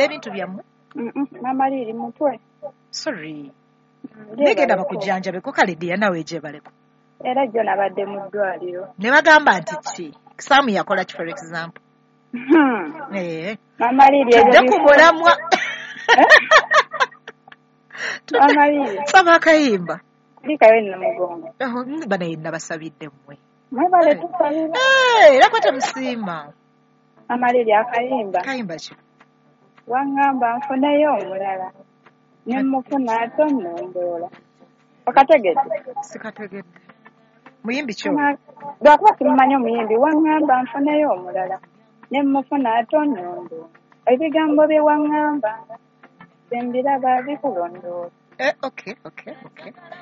Ebintu byammwe? Mama Liri mutwe. Sorry. Negenda bakujjanjabeko kale ddiya nawe gyebaleko. Era jjo nabadde mu ddwaliro. Ne bagamba nti ki? Saamu yakola ki for example? Mama Liri ebyo Tudde ku mulamwa. Mama Liri. Saba akayimba. Kulikayo Namugongo. Banaye nabasabidde mmwe. Mwebale tusabira. Era kwa temusiima. Mama Liri akayimba. Kayimba ki? Waŋŋamba nfuneyo omulala. Ne mmufuna ate onnondoola. Okategedde? Sikategedde. Muyimbi ki? Lwakuba simumanyi omuyimbi. Waŋŋamba nfuneyo omulala. Ne mmufuna ate onnondoola. Ebigambo bye waŋŋamba sembiraba bikulondoola. Okay.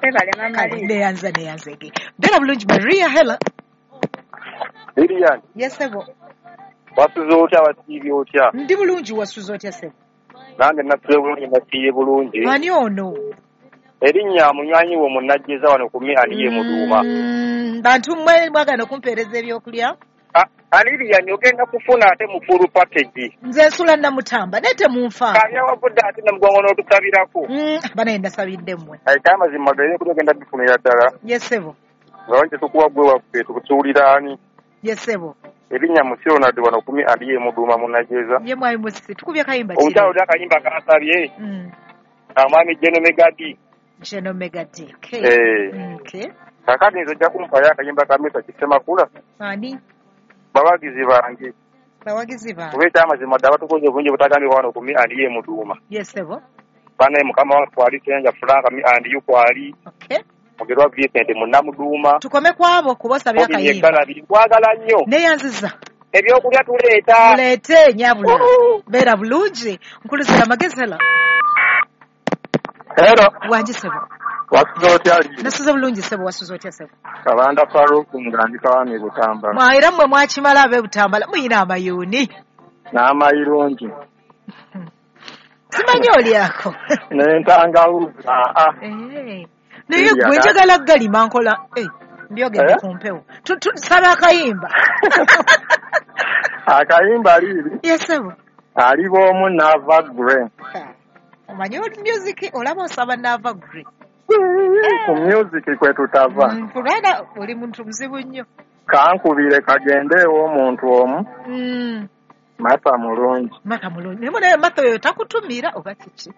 Ebale Mama Liri. Neyanze ge. Beera bulungi Maria, hello. Lilian. Yes, sebo. Wasuze otya, wasiibye otya? Ndi bulungi, wasuze otya sebo? Nange nasuze bulungi, nasiibye bulungi. Ani ono? Erinnya munywanyi wo munnajjeza wano ku Mi&A Muduuma. Bantu mmwe mwagala okumpeereza ebyokulya? Lilian ogenda kufuna ate mu full package. Nze nsula Namutamba naye temunfa. Kabya wavudde ate Namugongo n'otusabirako. Banaye nasabidde mmwe. Ekyamazima ebyokulya ogenda bifunira ddala. Yes sebo. Nga wange tukuwa gwe waffe tukusuulira ani? Yes sebo. Erinnya Musi Ronald wano ku Mi&A Muduuma munnajjeza. Ye mwami Musi, tukubye kayimba ki? Omukyala oli akayimba kansabye. Omwami Geno Megadi. Geno Megadi, okay. Okay. Kaakati nze ojja kumpayo akayimba ka Mesa Kisemakula. Ani? Bawagizi bange. Bawagizi bange. Kuba ekyamazima ddala batukoze obulungi obutagambibwa wano ku Mi&A Muduuma. Yes sebo. Banaye mukama wange kwali Ssenja Frank Mi&U kwali. Okay. Mugerwa Vincent Munnamuduuma. Tukome kwabo kuba osabye akayimba. Nkwagala nnyo. Neyanziza. Ebyokulya tuleeta. Tuleete nyabula. Beera bulungi. Nkuluzira amagezi hello. Hello. Wangi sebo. Wasuze otya Lili? Nasuze bulungi sebo, wasuze otya sebo? Kabanda Farouk nga ndi Kawami Butambala. Era mmwe mwakimala ab'e Butambala muyina amayuuni. N'amayirungi. Simanyi olyako. N'entangawuzi. Naye gwe njagala galima nkola. Mbyogedde ku mpewo. Saba akayimba. Akayimba Lili? Yes sebo. Aliba omu Nava Grey. Omanyi music olaba osaba Nava Grey. Ku music kwe tutava. Kulwana oli muntu muzibu nnyo. Kankubire kagende ew'omuntu omu. Mata mulungi. Mata mulungi. Naye Mata oyo takutumira oba kiki?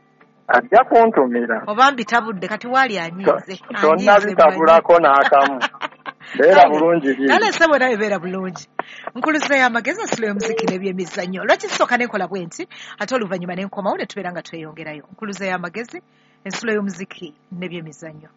Ajja kuntumira. Oba mbitabudde kati waali anyiize. Tonnabitabulako n'akamu. Beera bulungi Lili. Kale ssebo nawe beera bulungi. Nkuluzeeyo amagezi ensulo y'omuziki n'ebyemizannyo. Lwaki sooka nenkola bwe nti ate oluvannyuma ne nkomawo ne tubeera nga tweyongerayo. Nkuluzeeyo amagezi ensulo y'omuziki n'ebyemizannyo.